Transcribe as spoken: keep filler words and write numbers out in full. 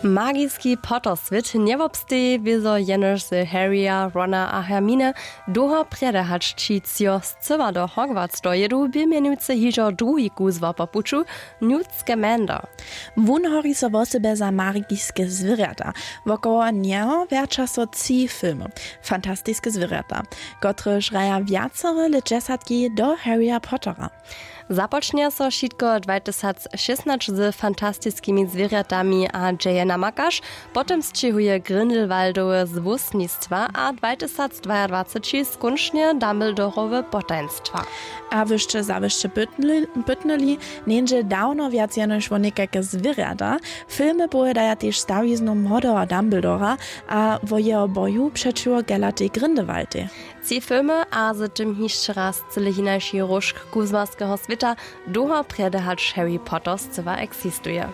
Magiski Potter swět njewobsteji wězo jenož z Harryja, Rona a Hermine. Dołho prjedy hač ći třo scyła do Hogwarts dojědu, bě mjenujcy hižo druhi kuzło po puću, Newt Scamander. Wón hori so wosebje za magiske zwěrjata. Wokoło njeho wjerća so tři filmy: Fantastiske zwěrjata, kotrež hraja wjacore lětdźesatki do Harryja Pottera. Započnje so wšitko dwajtysacšěsnaće z fantastiskimi zwěrjatami a dźe je namakaš. Potom sćěhuje Grindelwaldowe złósnistwa a dwajtysacdwajadwaceći skónčnje Dumbledorowe potajnstwa. A wy sće zawěsće pytnyli, njeńdźe dawno wjac jenož wo někajke zwěrjata. Filmy powědaja tež stawiznu młodeho Dumbledora a wo jeho boju přećiwo Gellatej Grindelwaldej. Tři filmy a z tym hišće raz cyle hinaši róžk kuzłarskeho swěta, dołho prjedy hač Harry Potter scyła eksistuje.